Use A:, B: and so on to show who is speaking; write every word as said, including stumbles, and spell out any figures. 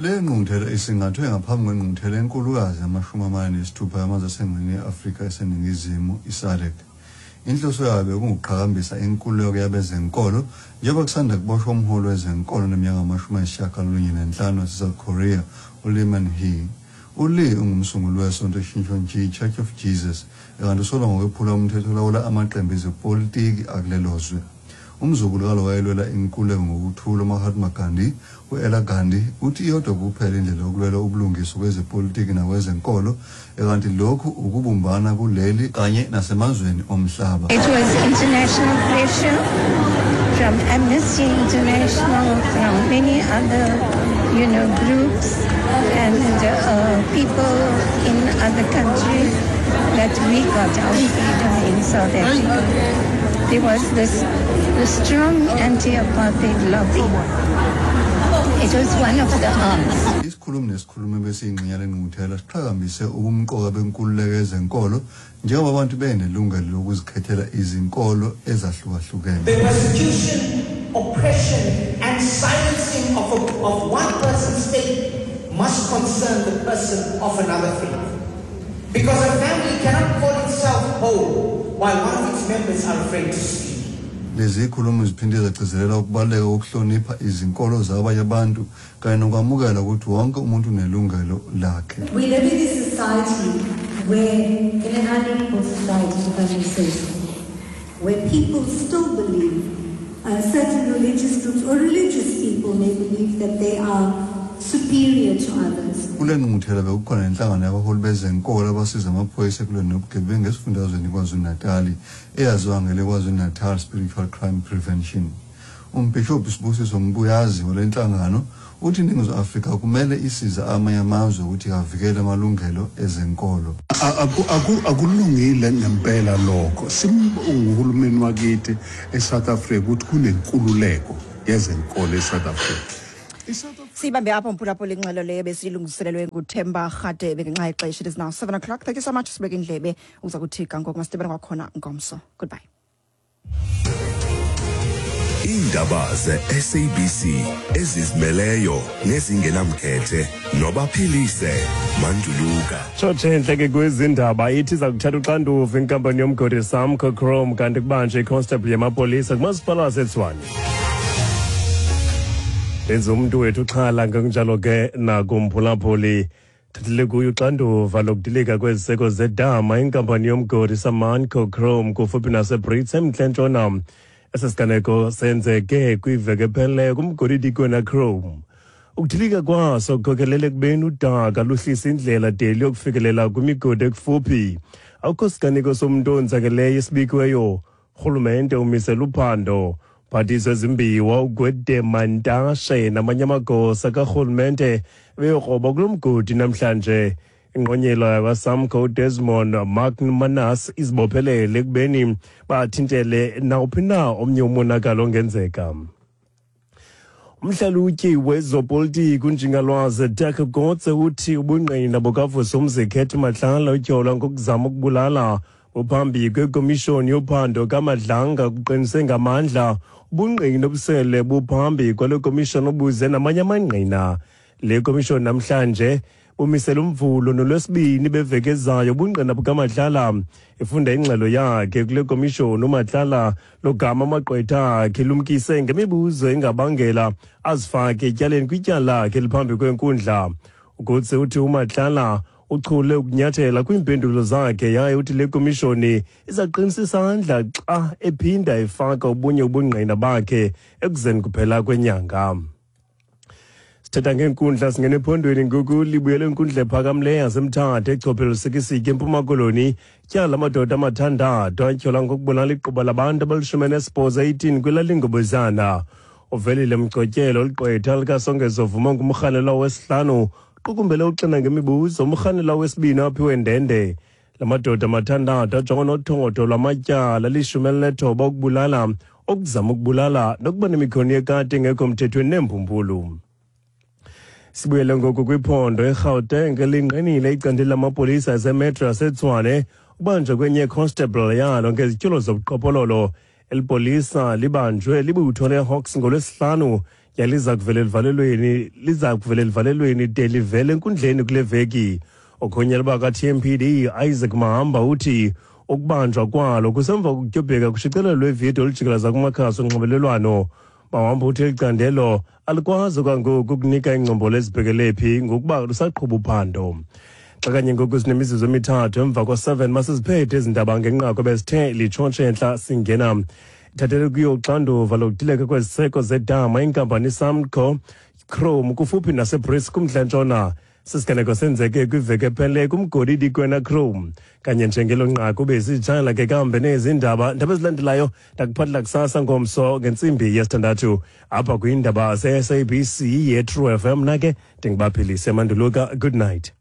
A: Le ngqungquthela isingathwe ngaphambi kwengqungquthela enkulukazi yamashumi amane nesithupha yamazwe asengxenyeni ye-Afrika eseNingizimu, i-SADC. Inhloso yayo bekungukuqhakambisa inkululeko yabezenkolo njengoba kusanda kuboshwa umholi wezenkolo oneminyaka engamashumi ayisishiyagalolunye nenhlanu wase-South Korea, uLee Man-hee. ULee ungumsunguli wesonto iShincheonji Church of Jesus, kanti usolwa ngokwephula umthetho olawula amaqembu ezepolitiki akulelo zwe. Umzukulu kalo wayelwela inkululeko ngokuthula uMahatma Gandhi, u-Ela Gandhi, uthi iyodwa kuphela indlela yokulwela ubulungiswa kwezepolitiki nakwezenkolo, kanti lokhu ukubumbana kuleli kanye nasemazweni omhlaba.
B: It was international pressure from Amnesty International, from many other, you know, groups and uh, people in other countries that we got our freedom in South Africa. There was this, this strong anti-apartheid lobby. It was one of the arms.
A: Isikhulumi nesikhulumi besiyingxenye lengqungquthela siqhakambise ubumqoka benkululeko yezenkolo njengoba abantu benelungelo lokuzikhethela izinkolo ezahlukahlukene.
C: The persecution, oppression and silencing of, a, of one person's faith must concern the person of another faith. Because a family cannot call itself whole while one of its members are afraid to speak.
A: Lezi zikhulumi ziphinde zagcizelela ukubaluleka kokuhlonipha izinkolo zabanye abantu kanye nokwamukela ukuthi wonke umuntu unelungelo lakhe.
D: We live in a society where, in an unequal society, if I may say so, where people still believe, uh, certain religious groups or religious people may believe that they are superior to others.
A: Kule ngqungquthela bekukhona nenhlangano yabaholi bezenkolo abasiza amaphoyisa ekulweni nobugebengu esifundazweni KwaZulu-Natali eyaziwa ngele KwaZulu-Natal Spiritual Crime Prevention. Umbhishobhi Sibusiso Mbuyazi wale nhlangano uthi iNingizimu Afrika kumele isize amanye amazwe ukuthi avikele amalungelo ezenkolo.
E: Akulungile ngempela lokho. Simbonga wakithi eSouth Africa ukuthi kunenkululeko yezenkolo eSouth Africa.
F: Sibambe apho mphulaphula ingxelo leyo besilungiselelwe nguThemba Rhadebe ngenxa yexesha. It is now seven o'clock. Thank you so much. Sibeke indlebe uza kuthi ga ngoku masidibane kwakhona ngomso. Goodbye.
G: Iindaba ze-S A B C ezizimeleyo nezingenamkhethe nobaphilise Manduluka.
H: Tshotshe entle ke kwezindaba ithi iza kuthatha uxanduva inkampani yomgodi Samco Chrome kanti kubanjwe iconstable yamapolisa kumasipala waseTshwane. Lenza umuntu wethu uxhala ngokunjalo ke nakumphulaphuli. Thathele kuyo uxanduva lokudilika kweziseko zedama inkampani yomgodi Samanco Chrome kufuphi naseBrits eMntla Ntshona. Esi siganeko senzeke kwiveki ephelileyo kumgodi iDikwena Chrome. Ukudilika kwaso kukhokelele ekubeni udaka luhlise indlela de luyokufikelela kwimigodi ekufuphi. Akukho siganeko somntu onzakeleyo esibikiweyo. Urhulumente umisele uphando. Phathiswa ezimbiwa uGwede Mantashe namanye amagosa karhulumente beyokroba kulo mgodi namhlanje. Ingqonyela yakwaSamco uDesmond McManus izibophelele ekubeni bathintele nawuphi na omnye umonakalo ongenzeka. Umhlalutyi wezopolitiki uNjingalwazi Dirk Kotze uthi ubungqina bukaVusumuzi Cat Matlala utyholwa ngokuzama ukubulala uphambi kwekomishoni yophando kaMadlanga kuqinise ngamandla ubungqina obusele buphambi kwale komishoni obuze namanye amangqina. Le komishoni namhlanje umisela umvulo nolwesibini beveki ezayo ubungqina bukaMatlala. Ifunda ingxelo yakhe kule komishoni uMatlala logama amagqwetha akhe lumkise ngemibuzo engabangela azifake etyaleni kwityala lakhe eliphambi kwenkundla. Ukutse uthi uMatlala uchule ukunyathela kwiimpendulo zakhe yaye uthi le komishoni izaqinisa isandla xa ephinda efaka obunye ubungqina bakhe ekuzeni kuphela kwenyanga. Sithetha ngeenkundla singene ephondweni ngoku libuyele inkundla ephakamileyo yaseMthatha eChophelo Lusikisiki eMpuma Koloni. Tyala amadoda amathandathu atyholwa ngokubulala iquba labantu abalishumi elinesibhozo eighteen kwilali Ngobozana. Uvelile Mgcotyelo ligqwetha likaSongezo Vuma ngumrhanelwa wesihlanu qukumbele uxina ngemibuzo umrhanelwa wesibini aphiwe ndende. La madoda amathandathu ajongwa nothotho lwamatyala lishumi elinethoba ukubulala, ukuzama ukubulala nokuba nemikhono yekati engekho mthethweni neembumbulu. Sibuyele ngoku kwiphondo eGauteng lingqinile icandelo lamapolisa aseMetro yaseTshwane ubanjwe kwenye constable yalo ngezityholo zobuqhophololo. Eli polisa libanjwe libutho leHawks ngolwesihlanu Yaliza kuvela elivalelweni liza kuvela elivalelweni de livele enkundleni kule veki. Okhonyela baka-T M P D Isaac Mahamba uthi ukubanjwa kwalo kusemva kokutyobheka kushicilelo lwevidiyo olujikeleza kumakhasi onxibelelwano. Mahamba uthi eli candelo alikwazi kwangoku ukunika iingcombolo ezibhekele phi ngokuba lusaqhuba uphando. Xa kanye ngoku sinemizuzu emithathu emva kwa-seven, masiziphethe ezi ndaba ngenqaku ebesithe litshotshe entla singena. Ithathele kuyo uxanduva lokudileka kweziseko zedama inkampani Samco Chrome kufuphi naseBrits kumntla-ntshona. Sisiganeko senzeke kwiveki ephele kumgodi iDikwena Chrome. Kanye njengelo nqaku besitshayela ke kambe nezi ndaba. Ndaba ezilandelayo ndakuphathela kusasa ngomso ngentsimbi yesithandathu apha kwiindaba ze-S A B C ye-True F M. Mna ke ndingubaphilise Manduluka. Good night.